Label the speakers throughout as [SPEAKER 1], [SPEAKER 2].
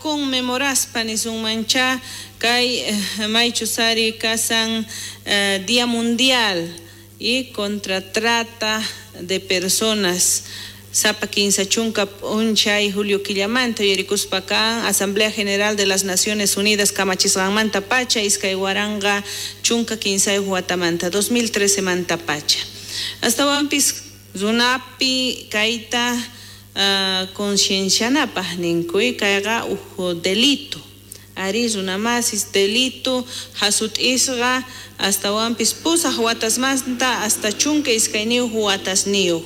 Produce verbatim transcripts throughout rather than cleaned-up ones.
[SPEAKER 1] Conmemoraspa nisunmancha kay eh, maychus ari kasan eh, Día Mundial y contra trata de personas sapa kinsa chunka p'unchay julio killamanta yuyarikuspa kan Asamblea General de las Naciones Unidas kamachisqanmanta pacha iskay waranqa chunka kinsayuq watamanta dos mil trece manta pacha astawanpis runapi kayta uh, conciencianapaj ninkuy kayqa uj delito ari runamasis delito hasut'isqa astawanpis pusaq watasmanta hasta chunka iskayniyuq watasniyuq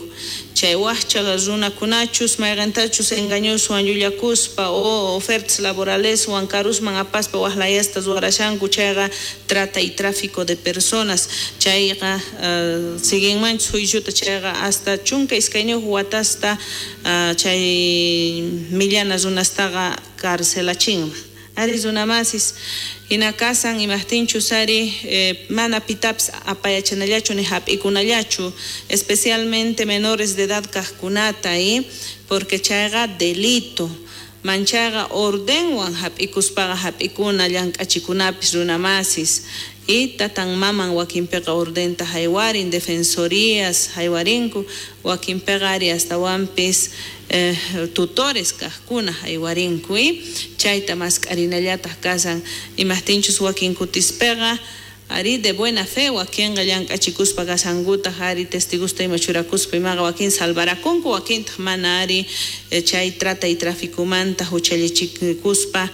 [SPEAKER 1] chay wajcha runakunachus mayqintachus engañoswan llullakuspa o ofertas laboraleswan karusman apaspa wajlayasta ruwarashanku chayqa trata y tráfico de personas chayqa uh, siguinmanchus juiciota chayqa hasta chunka iskayniyuq watasta uh, chay millana runastaqa carcelachinman ari runamasis hina kasan imajtinchus ari eh, mana pitapis apayachanallachu ni hap'ikunallachu especialmente menores de edad kajkunata y porque chayqa delito manchayqa ordenwan hap'ikuspaqa hap'ikuna llank'achikunapis runamasis y tatan maman wakinpiqa ordenta haywarin defensorías haywarinku wakinpiqa ari astawanpis eh, tutores kajkuna haywarinku y chayta mask'arinallataq kasan imajtinchus wakin kutispiqa ari de buena fe wakinqa llank'achikuspa kasankutaq ari testigusta ima churakuspa imaqa wakin salvarakunku wakintaq mana ari eh, chay trata y traficomanta huchallichikuspa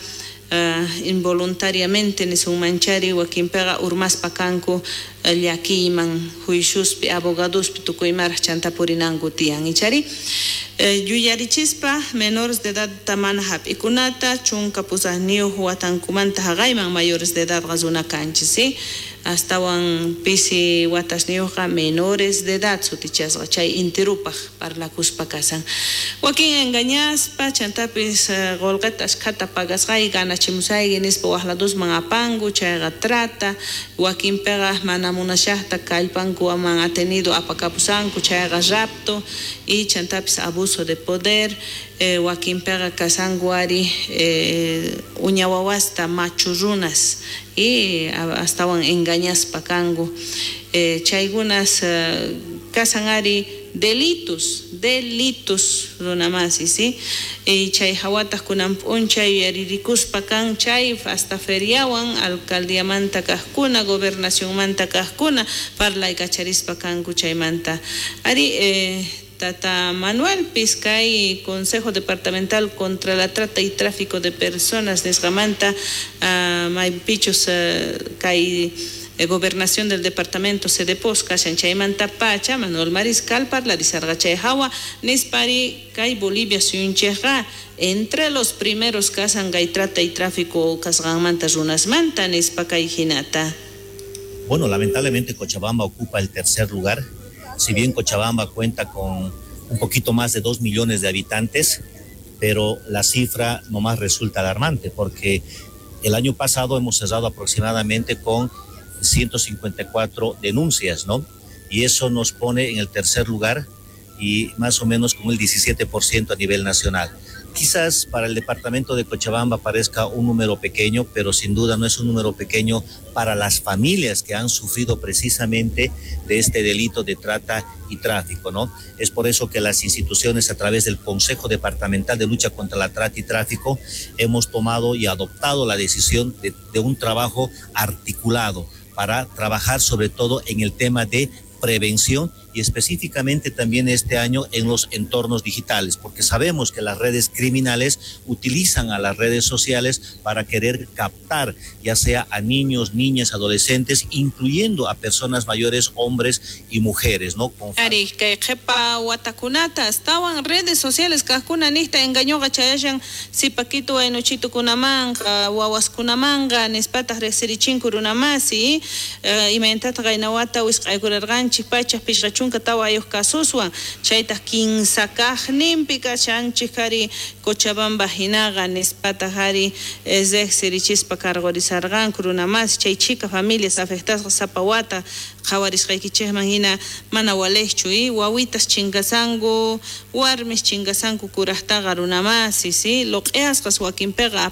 [SPEAKER 1] Uh, involuntariamente nisunmanchari wakinpiqa urmaspa kanku uh, llakiyman juiciospi abogadospi tukuymaraq chanta purinanku tiyan ichari eh, yuyarichispa menores de edad mana hap'ikunata chunka pusaqniyuq watankumanta haqayman mayores de edad runa kanchis ¿sí? Astawan pisi watasniyuqqa menores de edad sutichasqa chay intirupaq parlakuspa kasan wakin engañaspa chantapis uh, qullqita ashkhata pagasqayki ganachimusayki nispa waqladusman apanku chayqa trata wakinpiqa mana munashaqta kallpankuman atenido apakapusanku chayqa rapto y chantapis abuso de poder eh, wakinpiqa kasanku ari eh, uña wawasta machu runas y astawan engañaspa kanku eh, chaykunas eh, kasan ari delitos delitos runamasi ¿sí? Y chay hawataq kunan p'unchay yuyaririkuspa kan chay hasta feriawan alcaldiamanta kajkuna gobernacionmanta kajkuna parlaykacharispa kanku chaymanta ari eh, Tata Manuel Pizcay, Consejo Departamental contra la Trata y Tráfico de Personas, nisqamanta uh, maypichus uh, kay eh, gobernación del departamento Cedepos kashan chaymanta pacha Manuel Mariscal parlarisarqa chay hawa nispari kay Bolivia suyunchikqa entre los primeros kasan kay trata y tráfico kasqanmanta runasmanta nispa kay hinata.
[SPEAKER 2] Bueno, lamentablemente Cochabamba ocupa el tercer lugar. Si bien Cochabamba cuenta con un poquito más de dos millones de habitantes, pero la cifra nomás resulta alarmante porque el año pasado hemos cerrado aproximadamente con ciento cincuenta y cuatro denuncias, ¿no? Y eso nos pone en el tercer lugar y más o menos con el diecisiete por ciento a nivel nacional. Quizás para el departamento de Cochabamba parezca un número pequeño, pero sin duda no es un número pequeño para las familias que han sufrido precisamente de este delito de trata y tráfico, ¿no? Es por eso que las instituciones, a través del Consejo Departamental de Lucha contra la Trata y Tráfico, hemos tomado y adoptado la decisión de, de un trabajo articulado para trabajar sobre todo en el tema de prevención y específicamente también este año en los entornos digitales, porque sabemos que las redes criminales utilizan a las redes sociales para querer captar ya sea a niños, niñas, adolescentes, incluyendo a personas mayores, hombres y mujeres, ¿no? Con
[SPEAKER 1] Ari, kay qhipa watakunata astawan redes sociales kajkuna nista engañoqa chayashan sipakitu waynuchitukunamanqa wawaskunamanqa nispataq riqsirichinku runamasi, eh, imayntataq qaynawata wisq'aykurarqanchik pachaq pishqa chunka tawayuq kasuswan chaytaq kinsa kaqninpi kashanchik ari Cochabamba hinaqa nispataq ari riqsirichispa cargorizarqanku runamasi chay chika familias afectasqa sapa wata qhawarisqaykichikman hina mana waliqchu y wawitas chinkasanku warmis chinkasanku kuraqtaqa runamasi, ¿sí? Luq'iyasqas wakinpiqa